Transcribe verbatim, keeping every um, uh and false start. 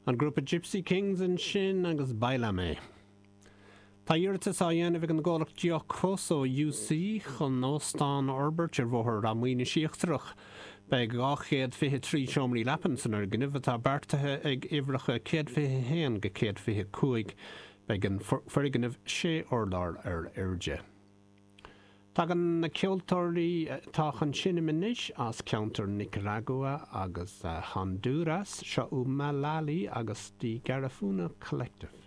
An grúpa Gypsy Kings ansin agus Bailame. Tá iarratas á dhéanamh ag an gcomhlacht Giocoso UC chun óstán a fhorbairt ar Bhóthar Ráth Maonais Íochtarach. Beidh dhá chéad fiche trí seomraí leapan san fhoirgneamh atá beartaithe ag uimhreacha céad fiche haon go céad fiche cúig. Beidh an foirgneamh sé urlár ar airde. Tagann na ceoltóirí atá chun seinm anois as ceantar Nicaragua agus Honduras, seo Umalali agus The Garifuna Collective.